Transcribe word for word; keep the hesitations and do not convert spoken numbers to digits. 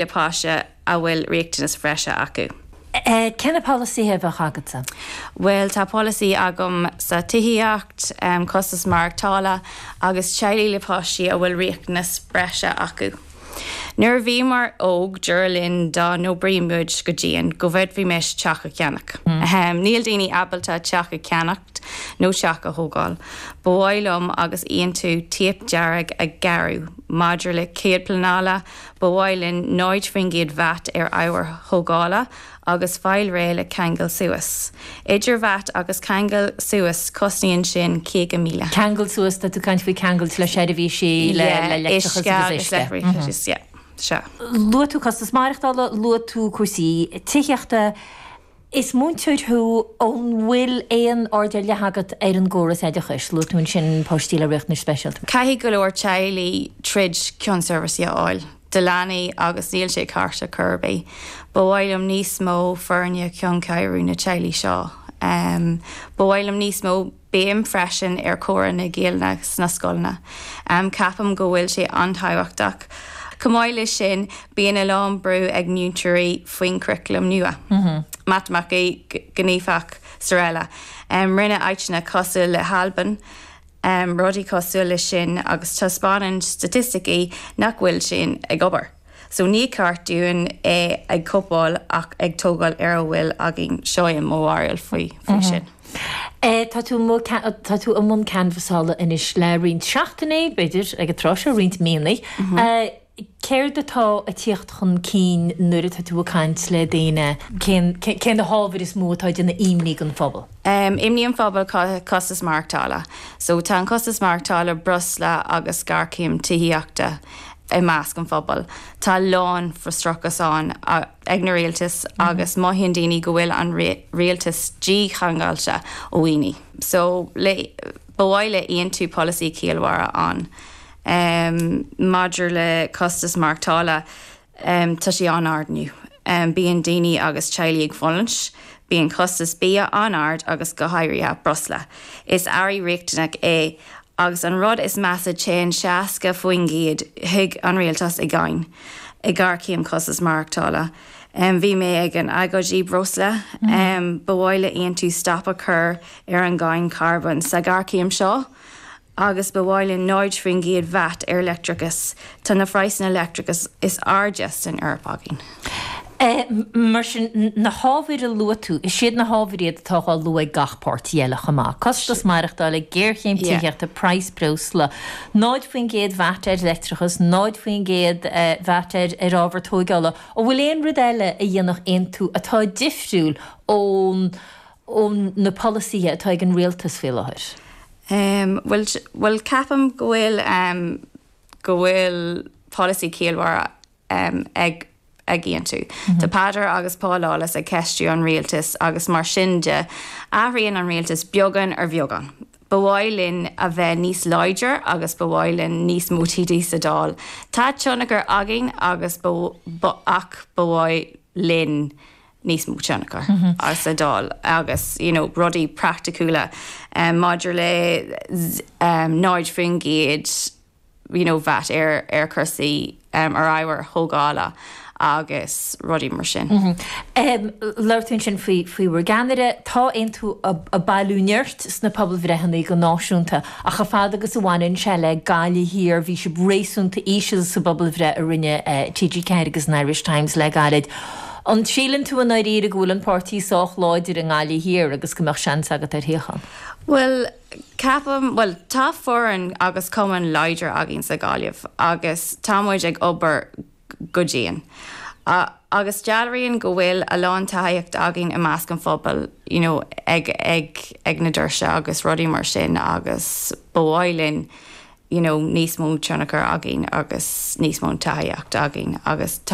le páiste a bhfuil riachtanas breise acu. Cé na polasaithe a bheadh agatsa? Well tá polasaí agam sa tithíocht, um, costas maireachtála agus teaghlaigh le páistí a bhfuil riachtanas breise acu. Nuair a bhíomar óg dúradh linn dá n-oibreoidh muid go dian go bhféadfaimis teach a cheannach. Mm. Um, níl daoine ábalta teach a cheannacht nó teach a thógáil. Ba mhaith liom agus Aontú téip dearg a ghearradh maidir le cead pleanála, ba mhaith linn náid faoin gcéad VAT ar ábhair thógála agus fáil réidh le ceangal suas. Idir VAT agus ceangal suas cosnaíonn sin caoga míle. Ceangal suas tá tú caint faoi ceangal le seirbhísí le leictreachas. Se. Luaigh tú costas maireachtála, luaigh tú cúrsaí tithíochta. Is múinteoir thú an bhfuil aon aird ar leith agat ar an gcóras oideachais, luaigh tú ansin páistí le riachtanais speisialta. Caithfidh go leor teaghlaigh troid chun seirbhísí a fháil. Do leanaí agus níl sé ceart ar chor ar bith. Ba mhaith liom níos mó foirne chun cabhrú na teaghlaigh seo. Um, Ba mhaith liom níos mó béim freisin ar chúrsaí na Gaeilge sna scoileanna. Um, Ceapaim go bhfuil sé an-tábhachtach. Chomh maith leis sin bíonn a lán brú ag múinteoirí faoin curriculum nua. Mm -hmm. Matamaic gníomhach is araile. Um, rinne áiteanna cosúil le hAlbain, um, rudaí cosúil le sin agus taispeánann staitisticí nach bhfuil sin ag obair. So ní ceart dúinn é ag cóipeáil ach ag tógáil ar a bhfuil againn seo é mo bharúil faoi faoi mm -hmm. sin. E, tá tú tá tú i mbun canbhasála anois le roinnt seachtainí b'fhéidir ag an tráth seo roinnt míonna. Mm -hmm. e, Céard atá ag teacht chun cinn nuair atá tú ag caint le daoine cé na hábhair is mó atá ag déanamh imní don phobal? Um, imní an phobal costas maireachtála. So tá an costas maireachtála breosla agus géarchéim tithíochta i measc an phobal. Tá lán frustrachas ann ag na rialtas mm -hmm. agus mothaíonn daoine go bhfuil an rialtas dícheangailte ó dhaoine. So le ba mhaith le Aontú polasaí ciallmhara ann. Um, maidir le costas maireachtála um, tá sé an-ard inniu. Um, bíonn daoine agus teaghlaigh ag fulaingt, bíonn costas bia an-ard agus go háirithe breosla. Is earra riachtanach é agus an rud is measa téann seasca faoin gcéad chuig an rialtas i gcáin i ngéarchéim costas maireachtála. Um, bhí mé ag an agóid breosla, mm -hmm. um, ba mhaith le Aontú stop a chur ar an gcáin carbón sa ghéarchéim seo, agus ba mhaith linn náid faoin gcéad VAT ar leictreachas tá na praghsanna leictreachas is airde san Eoraip againn. E, mar sin na hábhair a luaigh tú, is iad na hábhair iad atá á lua ag gach páirtí eile chomh maith. Costas maireachtála géarchéim tithíochta praghas breosla. Náid faoin gcéad VAT ar leictreachas, náid faoin gcéad VAT ar ar ábhar tógála, An bhfuil aon rud eile a dhéanfadh Aontú atá difriúil ón ón na polasaithe atá ag an rialtas faoi láthair. Um, well, well ceapaim go bhfuil um, go bhfuil polasaí ciallmhara um, ag ag Aontú. Mm -hmm. Tá Peadar agus Paul Lawless ag ceistiú an rialtas agus mar sin de athraíonn an rialtas beagán ar bheagán. Ba mhaith linn a bheith níos láidir agus ba mhaith linn níos mó TD sa Dáil. Tá tionchar againn agus ach ba mhaith linn níos mó tionchar mm -hmm. as sa Dáil agus you know, rudaí praiticiúla um, maidir le um, náid faoin gcéad you know, VAT ar ar chúrsaí um, ar ábhair thógála agus rudaí mar sin. Mm -hmm. um, Labhair tú ansin faoi faoi bhur gceannaire tá Aontú ag bailiú nirt sna pobalbhreitheanna go náisiúnta ach a fad agus a bhaineann sé le Gaillimh Thiar bhí sibh réasúnta íseal sa bpobalbhreith a rinne uh, TG Ceathair agus an Irish Times le gairid. An síleann tú an éire go bhfuil an páirtí sách láidir i nGaillimh Thiar agus go mbeadh seans agat ar shuíochán. Well, ceapaim well tá foireann agus cumann láidir againn sa Ghaillimh agus táimid ag obair go dian. Uh, agus dealraíonn go bhfuil a lán tacaíocht againn i measc an phobal you know, ag, ag, ag na doirse agus rudaí mar sin agus ba mhaith linn you know, níos mó tionchar againn agus níos mó tacaíocht againn agus tá